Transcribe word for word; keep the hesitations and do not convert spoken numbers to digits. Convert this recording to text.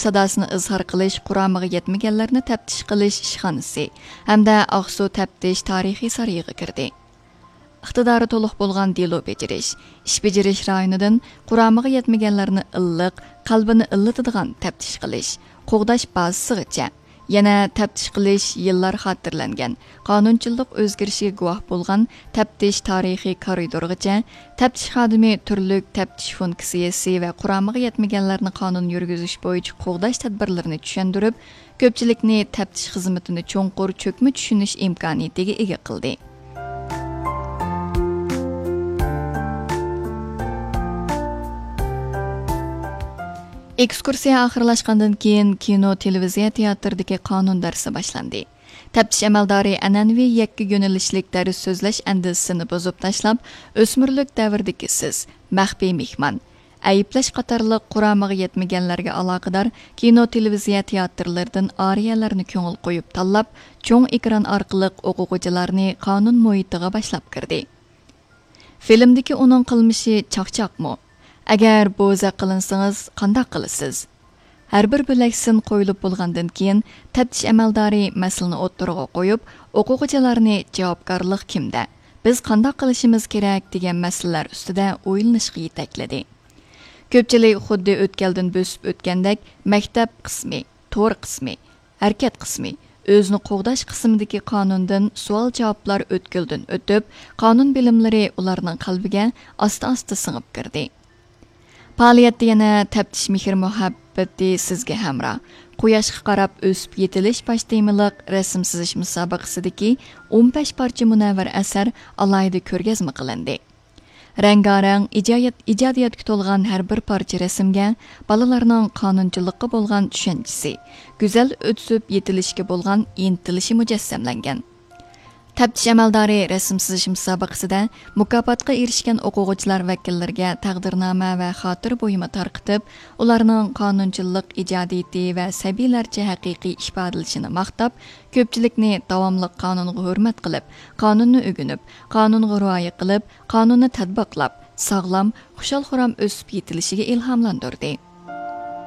ساداسىنى ئىزھار قىلىش قۇرامىغا يەتمىگەنلەرنى تەپتىش قىلىش ئىشخانىسى ھەمدە ئاقسۇ تەپتىش تارىخىي سارىيىغا كىردى. ئىقتىدارى تولۇق بولغان دېلو بېجىرىش، ئىش بېجىرىش رايونىدىن قۇرامىغا يەتمىگەنلەرنى ئىللىق، قەلبىنى ئىللىتىدىغان تەپتىش قىلىش، قوغداش بازىسىغىچە، يەنە تەپتىش قىلىش يىللار خاتىرىلەنگەن قانۇنچىلىق ئۆزگىرىشىگە گۇۋاھ بولغان تەپتىش تارىخىي كارىدورغىچە، تەپتىش خادىمى تۈرلۈك تەپتىش فۇنكسىيەسى ۋە قۇرامىغا يەتمىگەنلەرنى قانۇن يۈرگۈزۈش بويىچە قوغداش تەدبىرلىرىنى چۈشەندۈرۈپ، كۆپچىلىكنى تەپتىش خىزمىتىنى چوڭقۇر چۆكمە چۈشىنىش ئىمكانىيىتىگە ئىگە قىلدى. ئېكسكۇرسىيە ئاخىرلاشقاندىن كېيىن، كىنو، تېلېۋىزىيە تىياتىرىدىكى قانۇن دەرسى باشلاندى. تەپتىش ئەمەلدارى ئەنئەنىۋى يەككە يۆنىلىشلىك دەرس سۆزلەش ئەندىزىسىنى بۇزۇپ تاشلاپ، ئۆسمۈرلۈك دەۋردىكى سىز، مەخپىي مېھمان، ئەيىبلەش قاتارلىق قۇرامىغا يەتمىگەنلەرگە ئالاقىدار كىنو، تېلېۋىزىيە تىياتىرلىرىدىن ئارىيەلەرنى كۆڭۈل قويۇپ تاللاپ، چوڭ ئېكران ئارقىلىق ئوقۇغۇچىلارنى قانۇن مۇھىتىغا باشلاپ كىردى. فىلىمدىكى ئۇنىڭ قىلمىشى چاقچاقمۇ؟ ئەگەر بوزەك قىلىنسىڭىز، قانداق قىلىسىز؟ ھەر بىر بۆلەك سىن قويۇلۇپ بولغاندىن كېيىن، تەپتىش ئەمەلدارى مەسىلىنى ئوتتۇرىغا قويۇپ، ئوقۇغۇچىلارنى جاۋابكارلىق كىمدە، بىز قانداق قىلىشىمىز كېرەك دېگەن مەسىلىلەر ئۈستىدە ئويلىنىشقا يېتەكلىدى. كۆپچىلىك خۇددى ئۆتكەلدىن بۆسۈپ ئۆتكەندەك، مەكتەپ قىسمى، تور قىسمى، ھەرىكەت قىسمى، ئۆزىنى قوغداش قىسمىدىكى قانۇندىن سوئال-جاۋابلار ئۆتكىلىدىن ئۆتۈپ، قانۇن بىلىملىرى ئۇلارنىڭ قەلبىگە ئاستا-ئاستا سىڭىپ كىردى. پائالىيەتتە يەنە تەپتىش مېھىر-مۇھەببىتى سىزگە ھەمراھ، قۇياشقا قاراپ ئۆسۈپ يېتىلىش باش تېمىلىق رەسىم سىزىش مۇسابىقىسىدىكى ئون بەش پارچە مۇنەۋۋەر ئەسەر ئالاھىدە كۆرگەزمە قىلىندى. رەڭگارەڭ ئىجايەت-، ئىجادىيەتكە تولغان ھەر بىر پارچە رەسىمگە بالىلارنىڭ قانۇنچىلىققا بولغان چۈشەنچىسى، گۈزەل ئۆسۈپ يېتىلىشكە بولغان ئىنتىلىشى مۇجەسسەملەنگەن. تەپتىش ئەمەلدارى رەسىم سىزىش مۇسابىقىسىدە مۇكاپاتقا ئېرىشكەن ئوقۇغۇچىلار ۋەكىللىرىگە تەقدىرنامە ۋە خاتىرە بۇيۇمى تارقىتىپ، ئۇلارنىڭ قانۇنچىلىق ئىجادىيىتى ۋە سەبىيلەرچە ھەقىقىي ئىپادىلىشىنى ماختاپ، كۆپچىلىكنى داۋاملىق قانۇنغا ھۆرمەت قىلىپ، قانۇننى ئۆگىنىپ، قانۇنغا رىئايە قىلىپ، قانۇننى تەتبىقلاپ، ساغلام، خۇشال-خۇرام ئۆسۈپ يېتىلىشىگە ئىلھاملاندۇردى.